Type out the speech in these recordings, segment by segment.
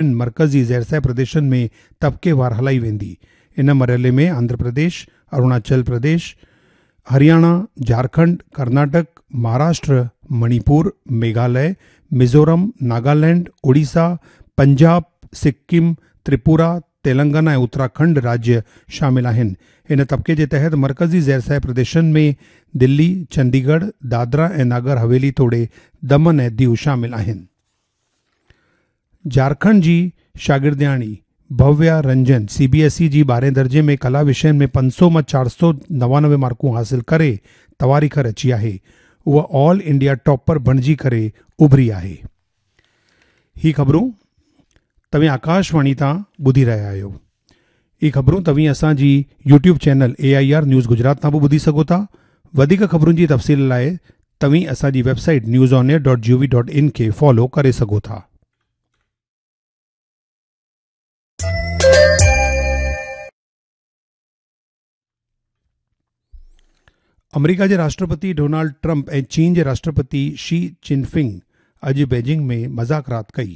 ٽن مرڪزي زيرسايه پرديشن ۾ طبقيوار هلائي ويندي. ان مرحلي ۾ آنڌرا پرديش، اروناچل پرديش، هرياڻا، جهارکنڊ، ڪرناٽڪ، مهاراشٽر، مڻيپور، ميگهاليه، ميزورم، ناگالينڊ، اوڙيسا، پنجاب، سڪم، تريپورا، تيلنگانا ۽ اتراکنڊ راجيه شامل آهن. هن طبقي جي تحت مرڪزي زيرسايه پرديشن ۾ دلي، چنديڳڙهه، دادرا ۽ ناگر حويلي توڙي دمن ۽ ديو شامل آهن. جهارکنڊ جي شاگردياڻي Bhavya Ranjan C B S E جي ٻارهين درجي ۾ ڪلا وشين ۾ 500 مان 499 مارڪون حاصل ڪري تواريخ رچي آهي. هوء آل انڊيا ٽاپر بڻجي ڪري اڀري آهي. هي خبرون توهين آڪاشواڻي تان ٻڌي رهيا آهيو. هي خبرون توهين اسان جي YouTube channel A I R news Gujarat تان به ٻڌي سگهو ٿا. وڌيڪ خبرن جي تفصيل لاء توهين اسان جي website news on air dot G O V dot in کي فالو ڪري سگهو ٿا. آمريڪا جي راشٽرپتي ڊونالڊ ٽرمپ ۽ چين جي راشٽرپتي شي جن فنگ اڄ بيجنگ ۾ مذاڪرات ڪئي.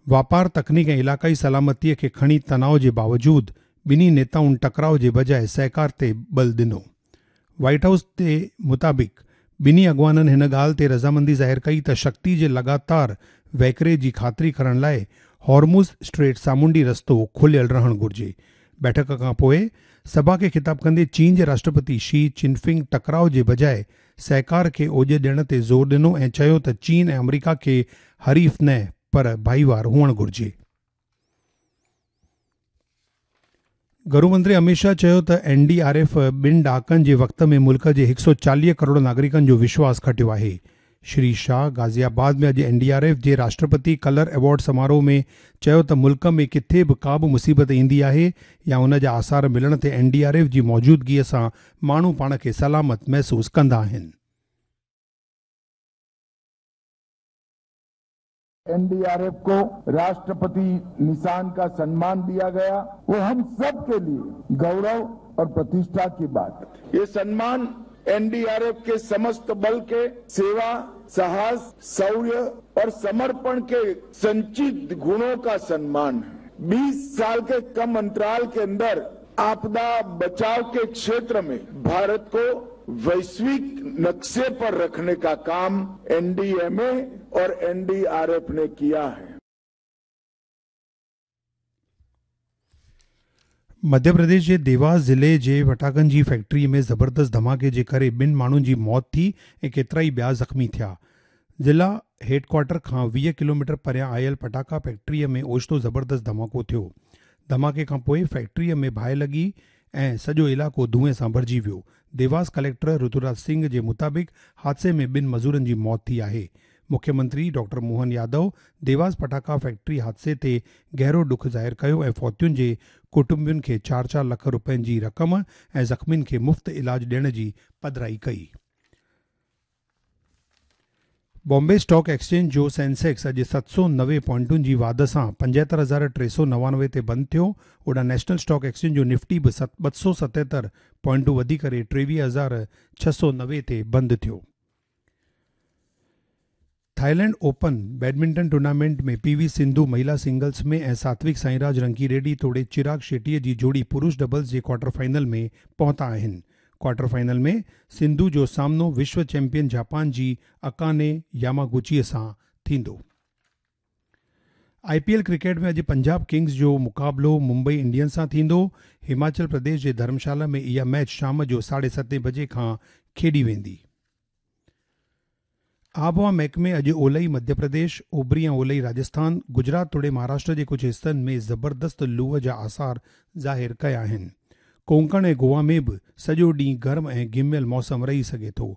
واپار، تڪنيڪ ۽ علائقائي سلامتي کي کڻي تناء جي باوجود ٻنهي نيتائن ٽڪراء جي بجاء سهڪار تي ٻل ڏنو. وائيٽ هائوس جي مطابق ٻنهي اڳواڻن هن ڳالهه تي رضامندي ظاهر ڪئي ته شڪتي جي لڳاتار وهڪري جي خاطري ڪرڻ لاء هارموز اسٽريٽ سامونڊي رستو کليل رهڻ گهرجي. بيٺڪ کان پوء سڀا کي خطاب ڪندي چين جي راشٽرپتي شي جن فنگ ٽڪراء جي بجاء سهڪار کي اوڄ ڏيڻ تي زور ڏنو ۽ چيو ته چين ۽ آمريڪا کي حريف نه پر ڀائيوار هئڻ گهرجي. گهرو منتري اميت شاهه چيو ته اين ڊي آر ايف ٻن ڏهاڪن جي وقت ۾ ملڪ جي 140 ڪروڙ ناگرڪن جو وشواس کٽيو آهي. شري شاهه غازي آباد ۾ اڄ اين ڊي آر ايف جي راشٽرپتي ڪلر ايوارڊ سماروهه ۾ چيو ته ملڪ ۾ ڪٿي به ڪا به مصيبت ايندي آهي يا ان جا آثار ملڻ تي اين ڊي آر ايف جي موجودگي سان ماڻهو پاڻ کي سلامت محسوس ڪندا آهن. اين ڊي آر ايف ڪو راشٽرپتي نشان ڪا سنمان ديا گيا وو هم سب ڪي ليي گورو اور پرتشٺا ڪي بات. يي سنمان اين ڊي آر ايف ڪي سمست بل ڪي سيوا، ساهس، شوريه اور سمرپڻ ڪي سنچت گڻو ڪا سنمان هي. 20 سال ڪي ڪم انترال ڪي اندر آپدا بچاء ڪي ڪشيتر مين ڀارت ڪو ويشوڪ نقشي پر رکني ڪا ڪام اين ڊي ايم اي اور اين ڊي آر ايف ني ڪيا هي. مڌيه پرديش جي ديواس ضلعي جي ڦٽاڪن جي فيڪٽري ۾ زبردست ڌماڪي جي ڪري ٻن ماڻهن جي موت ٿي ۽ ڪيترائي ٻيا زخمي ٿيا. ضلع هيڊڪوارٽر کان 20 ڪلوميٽر پريان آيل ڦٽاڪا فيڪٽري ۾ اوچتو زبردست ڌماڪو ٿيو. ڌماڪي کانپوء فيڪٽري ۾ باهه لڳي ۽ سڄو علائقو دونهين سان ڀرجي ويو. ديواس ڪليڪٽر رتوراج سنگهه جي مطابق حادثي ۾ ٻن مزورن جي موت ٿي آهي. مکيه منتري ڊاڪٽر موهن يادو ديواس پٽاخا فيڪٽري حادثي تي گهرو ڏک ظاهر ڪيو ۽ فوتين جي ڪٽنبن کي چار چار لک رپين جي رقم ۽ زخمين کي مفت علاج ڏيڻ جي پڌرائي ڪئي. بامبي اسٽاڪ ايڪسچينج جو سينسيڪس اڄ 790 پوائنٽن جي واڌ سان 75,399 تي بند ٿيو. هوڏانهن نيشنل اسٽاڪ ايڪسچينج جو نفٽي به 277 پوائنٽون وڌي ڪري 23,690 تي بند ٿيو. Thailand open badminton tournament ۾ P V Sindhu مهيلا singles ۾ ۽ ساتوڪ سائينراج رنڪي ريڊي توڙي چراگ شيٽي جي جوڙي پرش ڊبلز جي ڪوارٽر فائنل ۾ پهتا آهن. ڪوارٽر فائنل ۾ سنڌو جو سامنو وشو چيمپيئن جاپان جي اڪاني ياماگوچي سان ٿيندو. آء پي ايل ڪرڪيٽ ۾ اڄ پنجاب ڪنگز جو مقابلو ممبئي انڊينز سان ٿيندو. هماچل پرديش جي ڌرمشالا ۾ اها ميچ شام جو ساڍي ستين بجي کان کيڏي ويندي. آبهوا محڪمي اڄ اولهي مڌيه پرديش، اوڀري ۽ اولهي راجسٿان، گجرات توڙي مهاراشٽر جي ڪجهه حصن ۾ زبردست لوء جا آثار ظاهر ڪيا آهن. ڪونڪڻ ۽ گوا ۾ به سڄو ڏينهن گرم ۽ گهميل موسم رهي سگهي ٿو.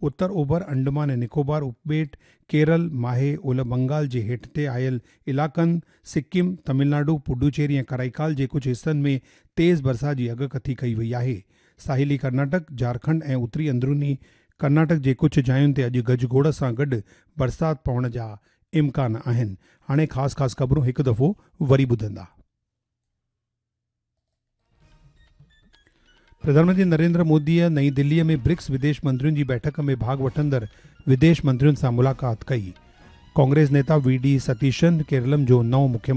اتر اوڀر انڊمان ۽ نڪوبار اپٻيٽ، ڪيرل، ماهي، اولهه بنگال جي هيٺ تي آيل علائقن، سڪم، تمل ناڊو، پڊوچيري ۽ ڪرائيڪال جي ڪجهه حصن ۾ تيز برسات جي اڳڪٿي ڪئي وئي آهي. ساحلي ڪرناٽڪ، جهارکنڊ ۽ اتري اندروني ڪرناٽڪ جي ڪجهه جاين تي اڄ گجگوڙ سان گڏ برسات پوڻ جا امڪان آهن. هاڻي خاص خاص خبرون هڪ دفعو وري ٻڌندا. پرڌان منتري نريندر موديء نئين دهليء ۾ برڪس وديش منترين جي بيٺڪ ۾ ڀاڳ وٺندڙ وديش منترين سان ملاقات ڪئي. ڪانگريس نيتا وي ڊي ستيشن ڪيرلم جو نئون مکيمنتري.